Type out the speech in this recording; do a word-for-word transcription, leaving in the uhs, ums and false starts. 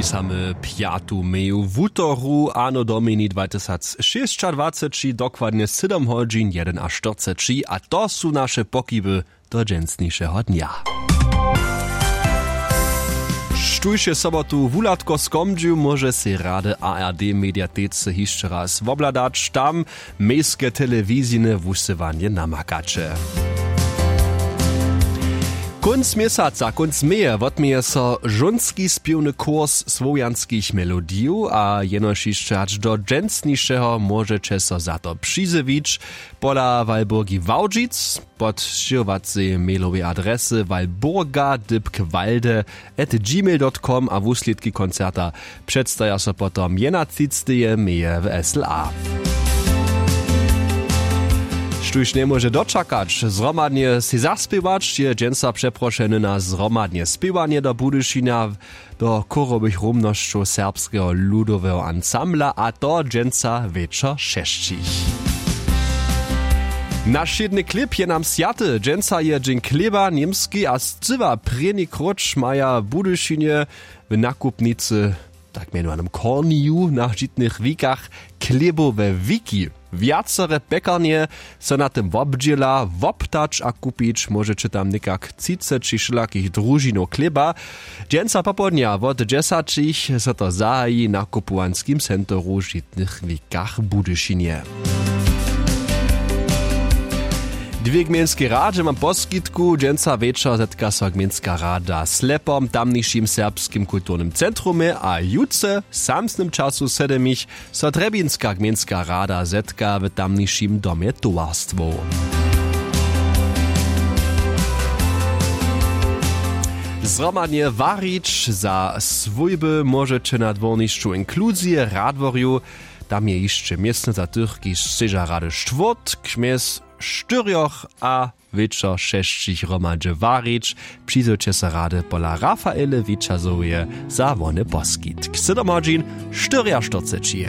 Samy pjatu meju wutoru ano domini dwatysacšěsćadwaceći dokładnje sydom hodźin jedynaštyrceći a to su naše pokiby do dźensnišeho dnja. Štóž je sobotu wuhladko skomdźił móže sej rady ard mediatece hišće raz wobhladać tam mejske telewizijne wusyłanje namakaće. Kónc měsaca kónc meje wotměje so žónski spěwny kurs słowjanskich melodijow a jenož hišće hač do dźensnišeho móžeće so za to přizjewić. Pola walburgi wałdźic pod sćěhowacej mailowej adresy walburga dypk walde at gmail dot com a wuslědki koncerta předstaja so potom jedenatřiceteje meje w sla. Štóž njemóže dočakać zhromadnje sej zaspěwać je dźensa přeprošeny na zhromadnje spěwanje do budyšina do chórowych rumnosćow serbskeho ludoweho ansambla a to dźensa wječor šesćich. Naš wšědny chlěb je nam swjaty dźensa je dźeń chlěba němski a scyła prěni króć maja w budyšinje w nakupnicy tak mjenowanym korniju na žitnych wikach chlěbowe wiki. Wjacore pjekarnje so na tym wobdźěla woptać a kupić móžeće tam někak třiceći wšelakich družinow chlěba. Dźensa popołdnja wot dźesaćich so to zahaji na kupowanskim centru w žitnych wikach w budyšinje. Dwě gmejnskej radźe mam poskitku dźensa wječor zetka so gmejnska rada slepom w tamnišim serbskim kulturnym centrumje a jutře w samsnym času sydemich so trjebinska gmejnska rada zetka w tamnišim domje towarstwow. Zhromadnje warić za swójby móžeće na dwórnišću inkluzije radworju. Tam je hišće městno za tych kiž sćeža rady štwórtk mjez štyrjoch a wječor šesćich hromadźe warić. Přizowće so rady pola rafaele wićazoweje za wone poskitk sydom hodźin štyrjaštyrceći.